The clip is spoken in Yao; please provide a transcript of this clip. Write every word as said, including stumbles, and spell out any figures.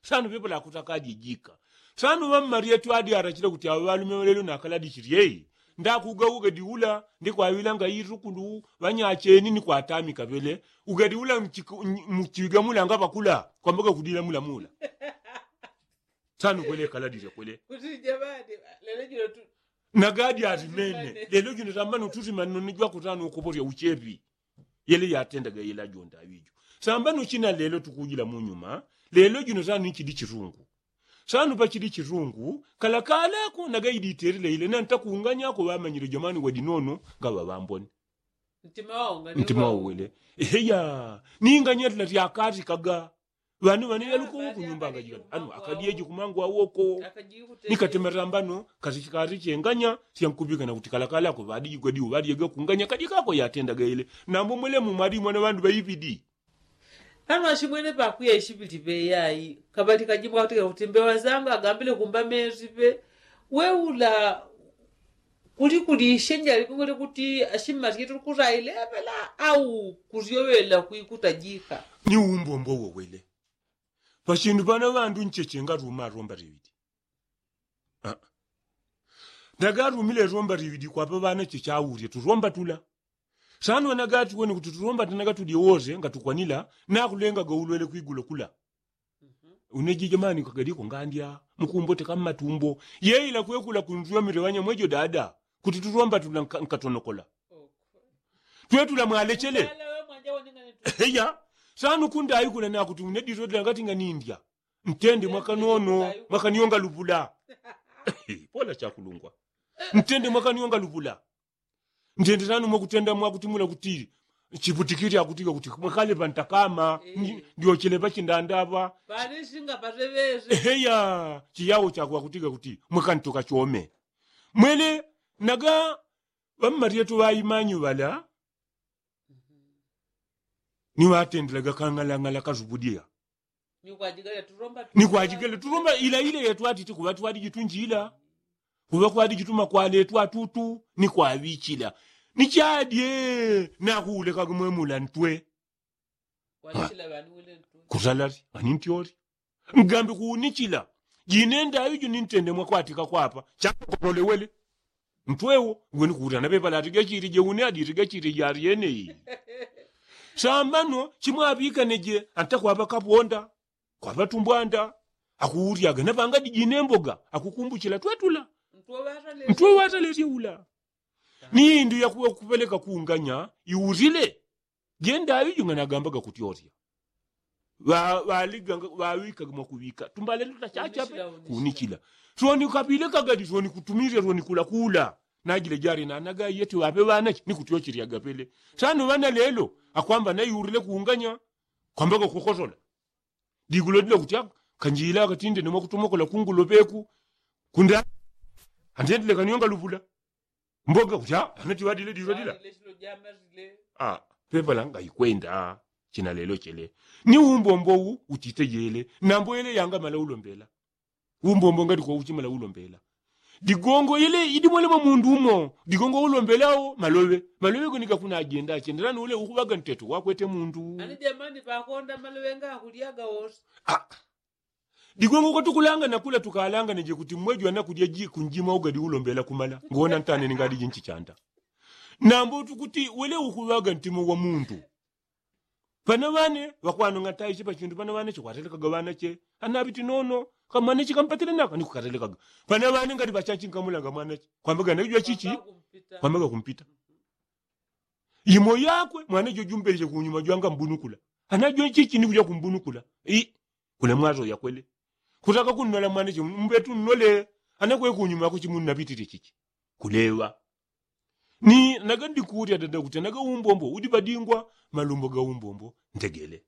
Sano pepo lakutakadi jika. Sano ŵammaryetu adi arachila kuti aŵaŵalume ŵalelo nakaladi chilyeyi. Ndakuga ugadi ula ndikwaŵilanga itukulu ŵanyacheni nikwatamika ŵele. Ugadi ula muchiga mulanga ŵakula kwambaga kudila mulamula. Sano kwele kaladile kwele. Nagadi alimene lelo jino sambano tusimanino nijwakutano ukoporya uchepi. Yele yatendaga yela jonda aŵijo. Sambano china lelo tukujila munyuma. Lelo jino sano nichili chitungu. Sano pachili chitungu kalakalako nagaidi itelile ile nantakunganyako ŵamanyile jamani wadinono. Ngaŵaŵambone. Ntima wawele. Eheya. Ninganyatila tyakati kaga. Ŵanu ŵane yaluko kunyumba akajikala ano akadyeji kumangu awoko. Nikatematambano kati chenganya syankupikana kuti kalakalako ŵadiji kwadiwo ŵadyega kunganya kadikako yatendaga ile. Nambo mwelemu mwalimwana ŵandu ŵaipidi. Ano ashimwene pakuya ishipili peyayi. Kabali kajimwa katika kuti mbewa zanga agambile kumba mezi pe. Weula kuli kuli ishenja likongole kuti ashimma syetu kutaile apela au kusyowela kwikutajika. Ni umbombo wowele. Pachindu pana ŵandu ncheche ngatuma romba tiwiti. Ndagatumile romba tiwiti kwapa ŵana chechaulye turomba tula. Sano ŵanagati wene kuti turomba tanagatulye wose ngatukwanila. Nakulengaga ulwele kwigulo kula. Unejije mani kagaliko ngandya mukumboteka mmatumbo. Yeila kwekula kunzwamile ŵanyamwejo dada kuti tulomba tula nkatonokola. Twetula mwalechele. Eya. Sano kundaikula nakuti uneditotela ngati nganindya. Ntende mwakanono mwakanyonga lupula. Pola chakulungwa. Ntende mwakanyonga lupula. Ndyendelano mwakutenda mwakutimula kuti chiputikili akutiga kuti mwakale pantakama. Ndyochele pachindanda apa. Eheya. Chiyawo chakwe akutiga kuti mwakantoka chome. Mwele naga ŵammaryetu ŵaimanyu ŵala. Niŵatendelaga kang'alang'ala kasupudiya. Nikwajigele tulomba ila ile yetwatiti kuŵa twadijitunjila. Kuŵa kwadijituma kwaletwa tutu nikwaŵichila. Nichadye nakuulekaga mwemula ntwe. Kusalali ani ntyoli. Ngambi kuunichila jinenda aŵijo nintende mwakwatika kwapa. Chakotolewele. Ntwewo ngwenikuutana pepala atigachirije une aditigachirijari yeneyi. Sambano chimwaŵikaneje antakwapa kaponda. Kwapa tumbwanda akuuryaga napanga dijine mboga akukumbuchila twetula. Ntwewo atalerye ula. Ni indu yakupeleka kunganya iurile. Jenda aŵijo nganagambaga kutyorya. Ŵaŵikaga mwakuŵika tumbale tutachachape. Kunichila soni kapile kagadi soni kutumirya soni kulakula. Najile jali nanaga yeti ŵape ŵanache nikutyocheryaga pele. Sano ŵana lelo akwamba naiurile kunganya. Kwambaga kukosola. Digulo dila kuti aka kanjila akatinde nomwakutomokola kungulo peku. Kunda antendile kanyonga lupula. Mboga kuti a anati ŵadile dilo dila. Pepala ngaikwenda. China lelo chele ni umbombo u utitejele. Nambo ele yangamala ulombela. Umbombo ngati kwa uchimala ulombela. Digongo ile idimwele mwa mundu umo digongo ulombelawo maloŵe. Maloŵe gonika kuna ajenda achendelano ule ukuŵaga nteto wakwete mundu. Ani jamani pakonda maloŵe ngakulyaga wose. Digongo kwatukulanga nakula tukalanga neje kuti mmwejo anakulya ji kunjima ugadi ulombela kumala ngona ntane ningadi jinchi chanda. Nambo tukuti wele ukuŵaga ntimo wa mundu. Pana ŵane ŵakwanong'ataishe pachindu pana ŵanache kwatelekaga ŵanache. Anaŵiti nono kamwanache kampatile naka nikukatelekaga. Pana ŵane ngati ŵachachi nkamulanga mwanache kwambaga naijwa chichi. Kwambaga kumpita. Imo yakwe mwanache jumbeleshe kunyuma jwanga mbunukula. Anajwa chichi nikuja kumbunukula. Kule mwazo yakwele kutaka kunnola mwanache mbetu nnole. Anakwe kunyuma kuchimunnapitile chichi. Kuleŵa. Ni naga ndikulya dada kuti naga umbombo udi padingwa. Malumbo ga umbombo ntegele.